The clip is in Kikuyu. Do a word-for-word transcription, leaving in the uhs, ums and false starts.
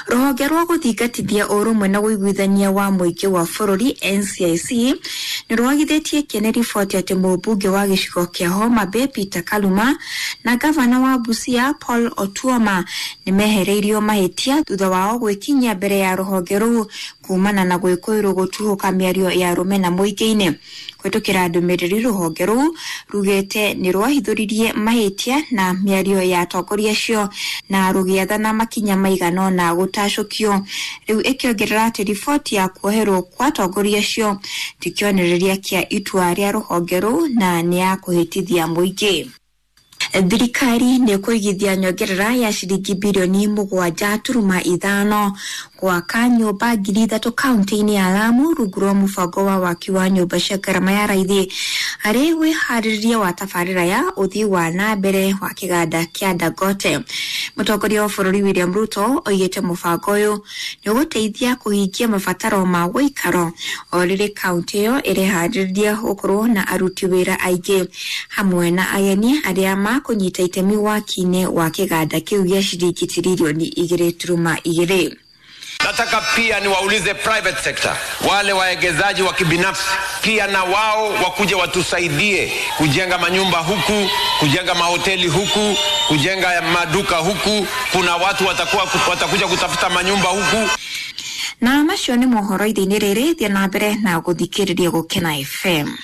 Rũhonge rwa gũthingatithia ũrũmwe na ũiguithania wa mũingĩ wa bũrũri N C I C nĩ rwagithĩtie kĩene riboti atĩ mũmbunge wa gĩcigo kĩa Homa Bay Peter Kaluma na gavana wa Busia Paul Otuoma nĩ mehereirio mahĩtia thutha wao gwĩkinyia mbere ya rũhonge rũu kumana na gwĩkũĩrwo gũtuhũka mĩario ya rũmena mũingĩ-inĩ. Kũhetũkĩra ndũmĩrĩri rũhonge rũu rugĩte nĩ rwahithũririe mahĩtia na mĩario ya atongoria acio na rũgĩathana makinya maigana ũna gũtacũkio. Rĩu ĩkĩongerera atĩ riboti ya kuoherwo kwa atongoria acio ti kĩonereria kĩa itua rĩa rũhonge rũu na nĩ ya kũhĩtithia mũingĩ. Thirikari nĩ ĩkũigithia nyongerera ya ciringi birioni mũgwanja turuma ithano gwaka nyũmba ngiri ithatũ kaunti-inĩ ya Lamu rungu rwa mũbango wa waki wa nyũmba cia ngarama ya raithi harĩ wĩharĩrĩria wa tabarĩra ya ũthii wa na mbere wa kĩganda kĩa Dangote. Mũtongoria wa bũrũri William Ruto oigĩte mũbango ũyũ nĩ ũgũteithia kũhingia mabataro ma ũikaro o rĩrĩ kaunti ĩyo ĩreharĩrĩria gũkorwo na aruti wĩra aingĩ hamwe na ageni arĩa makũnyita itemi waki-inĩ wa kĩganda kĩu gĩa ciringi tiririoni igĩrĩ turuma igĩrĩ. Nataka pia niwaulize private sector, wale waegezaji wa kibinafsi pia na wao wakuje watusaidie kujenga manyumba huku, kujenga mahoteli huku, kujenga maduka huku. Kuna watu watakuwa, watakuja kutafuta manyumba huku. Na macio nĩ mohoro ithe-inĩ rĩrĩ, thiĩ na mbere na gũthikĩrĩria Gũkena F M.